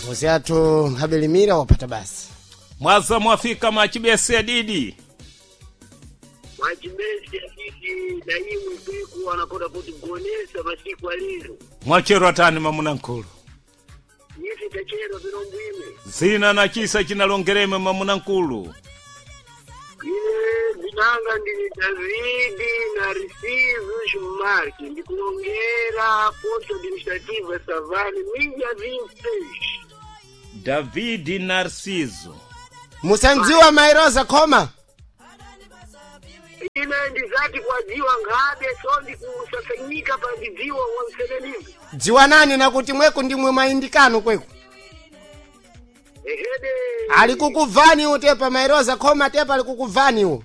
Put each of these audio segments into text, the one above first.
Ngozi athu nkhabelimira wapata basi. Mwaza mwafika mwachibese didi. Mwachibese didi na imwe kweku anakoda kuti gonesa masiku alero. Mwacherwa tani mamuna nkulu. Ife tachero vilombwime. Zina na chisa chinalongereme mamuna nkulu. Ine zinanga ndili Davidi na Risivu Shumarki ndikulongera posto administrativa Savani mija 26. Davidi Narciso. Musandziwa Mairosa khoma. Ine ndizati kwadziwa ngabe so ndikusasanyika pandidziwa wanselelivu. Dziwa nani nakuti mweku ndimwe mayindikano kweku. Ehede. Ali kukuvani utepa Mairosa khoma tepa ali kukuvani u.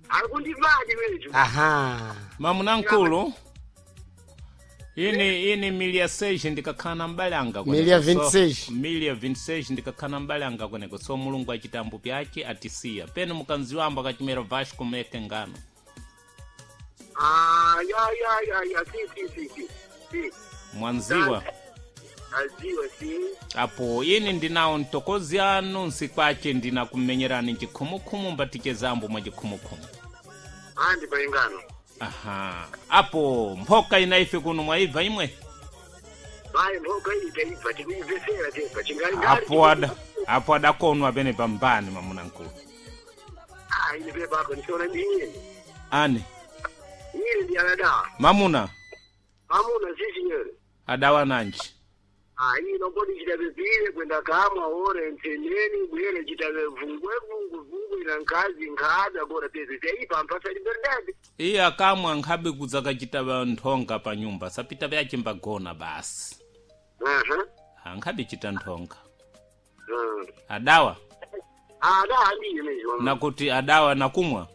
Alikundivadi weju. Aha. Mamuna nkulu. Ini milia 6 ndikakhala mbalanga kweneko. Milia 26. So, milia 26 ndikakhala mbalanga kweneko. So mulungu achitambo pyake atisiya. Penu mukanziwamba kachimera Vasco meke ngano. Ah, ya ya ya ya si si si si. Si. Mwanziwa. Aziwa si. Apo ini ndinawo mtokozi anu nsikwache ndinakumenyerani chikhumukhumu mbatichezambo mwa chikhumukhumu. Andi paingano. Aha. Apo mphoka ina ife kuno mwaibva imwe. Bayi mboka iyi taibva tikuibvesera tepa chingali ngali. Apo adakonwa pene pambani mamuna nkulu. Ah, ine pepa ako ndisiona ndiye. Ane Ine ndi anadawa. mamuna Mamuna sisi nyere. adawa nanji. Ah, ino kodi chitapepire kwenda kamwa ore ntendeni bwere chitape vungwe vungwe vungwe na nkazi nkhada kora pese taipa mpasa liberdade. Iye akamwa nkhabe kudzakachita nthonga pa nyumba sapita vyachimbagona basi. Aha. Ankhabe chita nthonga. Mm. Adawa Ada ndiye mezho. nakuti adawa nakumwa.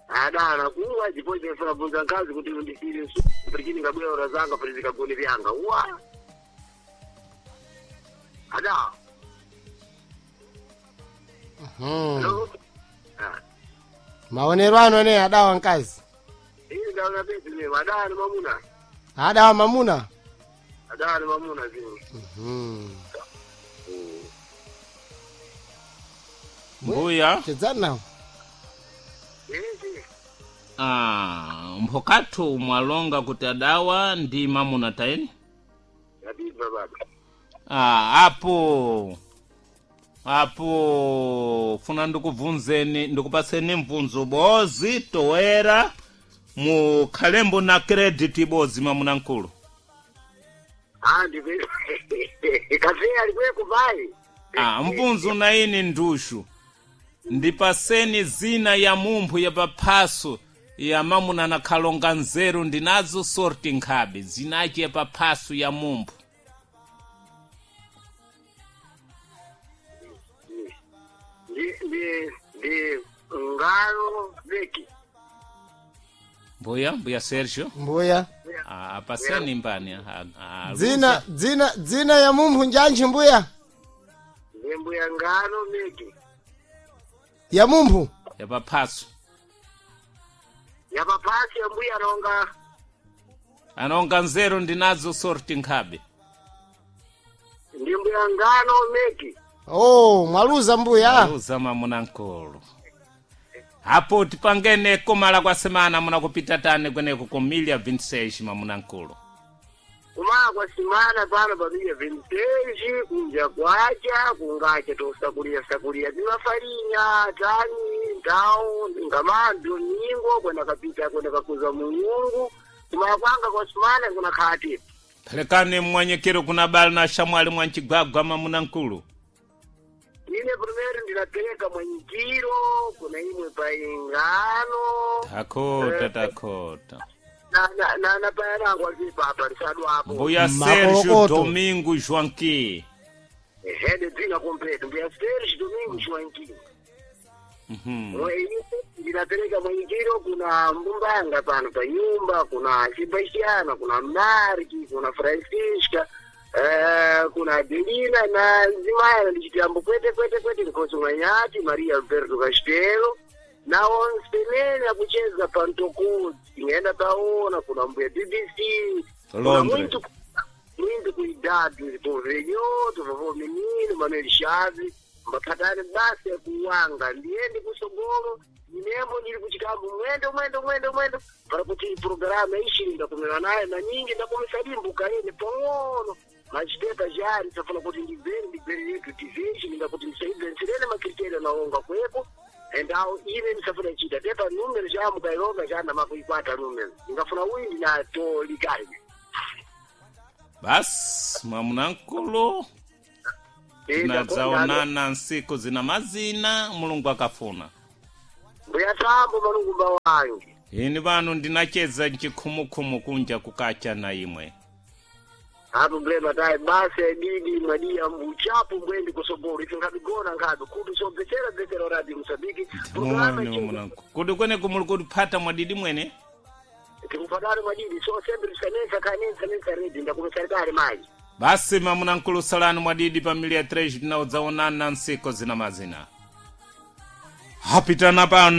Ada nakuwa chipoche funa nkazi kuti ndisire su prikini kabwera ora zanga prizika gone vyanga. Wa. Ada. Hmm. Hello. Ah. Maonero ano ne adawa nkazi. Ine ndaona pese ne ada ni mamuna. Adawa mamuna. Ada ni mamuna zini. Hmm. Mbuya. Chedzani nawo. Eh, Ah, mphokathu mwalonga kuti adawa ndi mamuna taeni. Yabibva baba. Ah, apo apo funa ndikubvunzeni ndikupaseni mvunzo bozi toera mukhalembo na credit bozi mamuna nkulu. Ah, ndive. Kafe alikweko bai. Ah, mvunzo na ini ndushu ndipaseni zina ya mumphu ya paphaso ya mamuna na khalonga nzeru ndinazo sorti nkhabe zinachi ya paphaso ya mumphu. Ndi ndi ndi ngalo beki. Mbuya mbuya Sergio. Mbuya. Ah, apaseni mbani Dzina dzina dzina ya mumphu njanji mbuya. Ndi mbuya ngalo beki. Ya mumphu. ya paphaso Ya papasi ya mbuya nonga. anonga nzeru ndinazo sorti nkhabe. Ndi mbuya ngano meki. Oh, mwaluza mbuya. Uza mamuna nkulu. Apo tipangene komala kwa semana munakupita tani kweneko ku milia 26 mamuna nkulu. Kumala kwa simana pano pamija vinteji kunja kwacha kungacha tosakulia sakulia bimafarinya tani ndau ngamandu nyingo kwenda kapita kwenda kakuza muyungu kumala kwanga kwa simana kuna khati. Phelekani mmwanyekero kuna bali na shamwali mwa mchigwagwa mamuna nkulu. Ine primero ndinapereka mwenyikiro kuna imwe paingano Takota takota. na na na, na payanangu azipapa lisadwapo Mbuya Sergio Makolokoto. Domingo Joaquim. ehede dzina kompleto mbuya Sergio Domingo Joaquim. Mhm. Ndinapereka mwenyikiro kuna mbumbanga pano pa nyumba kuna Sebastiana kuna Marki kuna Francisca kuna Adelina na nzimaya ndichitambo kwete kwete kwete Nkosi Mwanyati Maria Alberto Castelo na onse akucheza pantokozi ingenda taona kuna mbuya BBC kuna Londres. muntu kuidadu tuvenyo tuvavo Manuel Chaves mbaphatane basi kuwanga ndiyende kusogolo inembo ndili kuchikambo mwendo mwendo mwendo mwendo para kuti programa ishiri ndakumira naye maningi ndakumisa dimbuka ine pang'ono machitepa jari tafuna kuti ndibvere ndibvere yetu tivechi ndingakuti ndisaibvenserene makriteria naonga kwepo endawo ine ndisafuna chita tepa numero chamukailonga chanamakuikwata numero ndingafuna uyi ndinatolikali. Basi mwamunamkulu, tinadzaonana nsiku zina mazina Mulungu akafuna. Mbuya tambo malungumba wange. Ini vanu ndinacheza nchikhumukhumu kunja kukacha na imwe. Apo mblema tayi basi adidi mwadiya mbuchapo mbwendi kusogolo ife nkabigona nkhabe kuti sobvetsera bvetsera Radio Mosambiki. Mwene mwamunamkulu, kuti kweneku muli kuphata mwadidi mwene? Tikuphatani mwadidi so sempre tisanensa khanensa nensa redi ndakumisarikale mayi. Basi mamunamkulu, salani mwadidi pa milia 3 tinaudzaonana nsiku zina mazina hapitana pano.